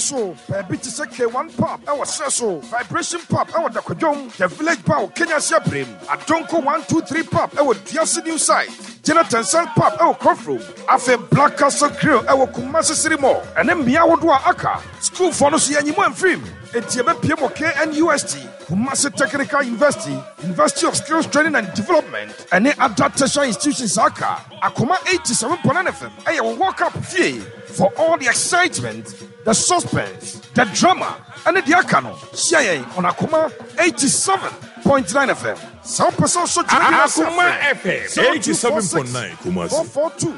so. Baabi te sɛ K1 Pub wɔ serɛ so, Vibration Pub wɔ Dakwadwom, The Village Bar wɔ Kenyasi Abrem, Adonko 123 Pub wɔ Duase New Site, Jonathan Sand Pub wɔ Krofrom, afei Black Castle Grill wɔ Kumasi City Mall, ɛne mmea ahodoɔ a aka. Sukuufoɔ no nso yɛanyi mo amfirim, enti yɛbɛpue mo KNUST, Kumasi Technical University, University of Skills Training and Development, ɛne other tertiary institutions a aka. Akoma 87.9 FM ɛyɛ wo World Cup fie for all the excitement, the suspense, the drama, ɛne deɛ aka no. Hyia yɛn on Akoma 87.9 FM. Sɛ wopɛ sɛ wosɔ dwumadi no ase a, Akoma frɛ FM 0246 87.9 Kumasi. 442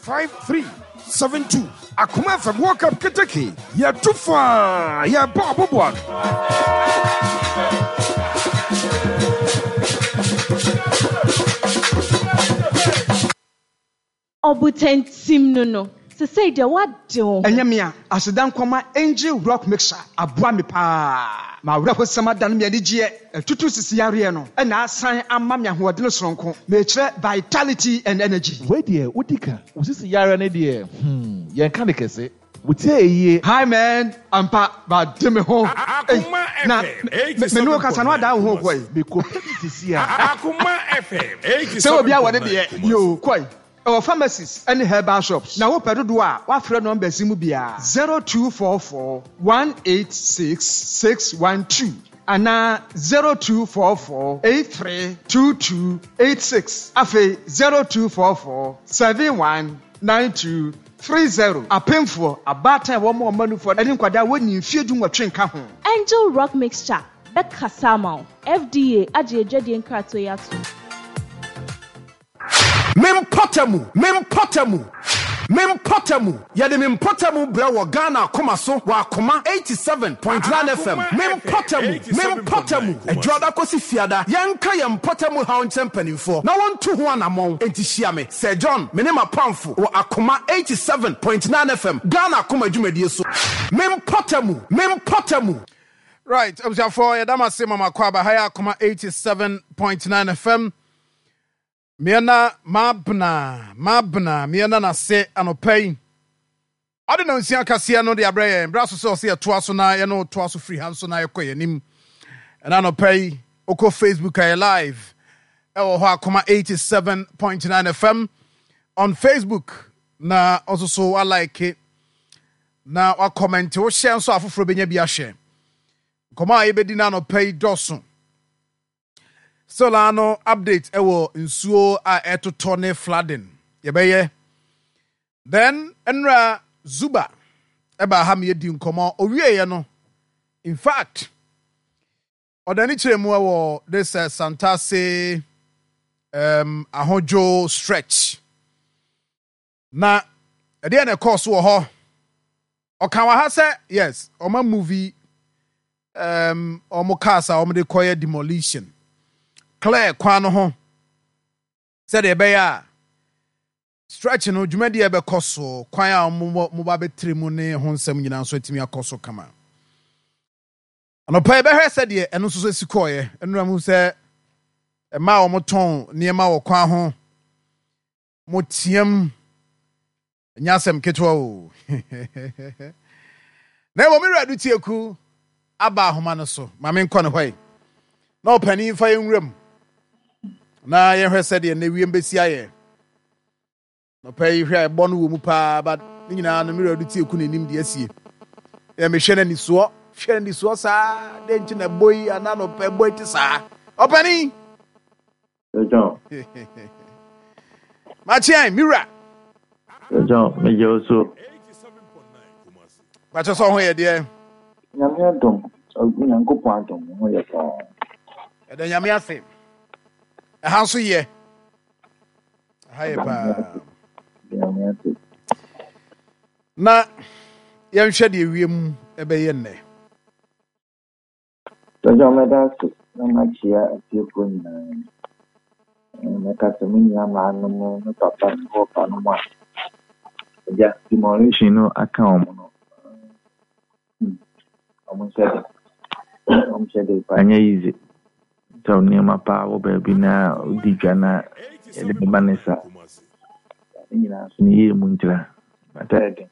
5372. Akoma FM World Cup keteke, yɛtu faa, yɛbɔ aboboa no. Ɔbotantim no no, sesei deɛ woade wo ho. Ɛnyɛ me a, aseda nkɔma Angel Rock Mixer aboa me paa. M'awerɛhosɛm adane me anigyeɛ, atutu sisi yareɛ no na asan ama me ahoɔdene soronko, mekyerɛ vitality and energy. Wei deɛ wodi ka. Wo sisi yareɛ no deɛ hmm yɛnka no kɛse. Wo tie yie. Hi man, ampa made me ho ei Akoma na FM me ne wo kasa no 87.9 adan wo ho Kumasi. kɔe. Mekɔ pɛ bi sisi a. Akoma FM Sɛ obi a wɔ ne 87.9 deɛ Kumasi. yoo kɔe. Ɛwɔ pharmacies ne herbal shops na wopɛ dodoɔ a woafrɛ numbers yi mu biara, 0244 186 612 anaa 0244 83 22 86 afei 0244 71 92 30. Apemfoɔ, abaatan a wɔma wɔn mma nufoɔ ne nkwadaa a wɔnnii mfeɛ dunwɔtwe nka ho. Angel Rock Mixture bɛkasa ama wo. FDA agye adwadie nkratoɔ yi atom. Me mpɔtamu, me mpɔtamu, me mpɔtamu, Yɛde me mpɔtamu brɛ wɔ Ghana akoma so wɔ Akoma 87.9 FM. Akoma Me FM mpɔtamu, me mpɔtamu, 87.9 Kumasi. Adwoada kɔsi Fiada, yɛnka yɛn mpɔtamu haw nkyerɛ mpanimfoɔ na wɔntu ho anammɔn. Enti hyia me, Sir John, me ne m'apamfo wɔ Akoma 87.9 FM, Ghana akoma dwumadie so. Me mpɔtamu, me mpɔtamu. Right, abusuafoɔ yɛda mo ase ma mo akɔ aba ha yɛ Akoma 87.9 FM. Meɛna mabena mabena meɛna n'ase anɔpa yi. Ɔde na nsia kaseɛ no de abrɛ yɛn. Berɛ aso sɛ ɔsɛ yɛtoa so na yɛne toa so firi ha nso na yɛkɔ yɛn anim. Ɛna anɔpa yi, wokɔ Facebook a yɛ live ɛwɔ hɔ Akoma 87.9 FM on Facebook na ɔnso so walike na wakɔmɛnte wohyɛ nso afoforɔ bɛnya bi ahwɛ. Nkɔmmɔ a yɛbɛdi no anɔpa yi dɔso. Still ara no update ɛwɔ nsuo a ɛtotɔ ne flooding yɛbɛyɛ. Then nnura Zuba ɛbaa ha ma yɛdi nkɔmmɔ owieɛ no in fact ɔde ani kyerɛ mu ɛwɔ this uh, Santase um, Ahodwo stretch. Na ɛdeɛ na ɛkɔɔ so wɔ hɔ. Ɔka wɔ ha sɛ yes, ɔma movie um, ɔmo cars a ɔmo de kɔyɛ demolition. Clear kwan no ho sɛdeɛ ɛbɛyɛ a stretch no dwumadi a ɛbɛkɔ so, kwan a ɔmo mo ba bɛtiri mu ne ho nsɛm nyinaa nso atumi akɔ so kama. Anɔpa yɛbɛhwɛ sɛdeɛ ɛno nso so si kɔɔeɛ. Nnura mu sɛ mmaa a wɔtɔn nneɛma wɔ kwan ho Moteam. Ɛnyɛ asɛm ketewa o. Na mmom me wura Dutieku aba ahoma no so. Ma menkɔ ne hɔ yi. Na ɔpanin fa yɛn nwura mu. Na yɛhwɛ sɛdeɛ nnɛ wiem bɛsi ayɛ. Nɔpɛ yi hwɛ a ɛbɔ no wɔ mu paa but ne nyinaa no me wura Dutieku na anim deɛ asie. Yɛ mehwɛ no anisoɔ. Hwɛ no anisoɔ saa. Dɛn nti na ɛbɔ yi anaa nɔpɛ ɛbɔ yi te saa. Ɔpanin! John. Makyean, me wura. John, megye wo so. Makyɛ sɛ ɔho yɛ deɛ. Nyame adom, Nyankopɔn adom, ho yɛ paa. Ɛda Nyame ase. Ɛha nso yɛ. Ɛha yɛ paa. Nyame ase. Na yɛnhwɛ deɛ wiem ɛbɛyɛ nnɛ. Agya mɛda ase na makyia atiefoɔ nyinaa. Mɛka sɛ me nua maa no mo, me papa ne wɔfa no mo a agya demolition no aka wɔn no. Wɔn nhyɛ den. Wɔn nhyɛ den paa, ɛnyɛ easy. Sɛ nneɛma paa wɔ baabi na wodi dwa na yɛde bɛba ne saa. Ne nyinaa nso ne yie mu ntira. But ɛyɛ den.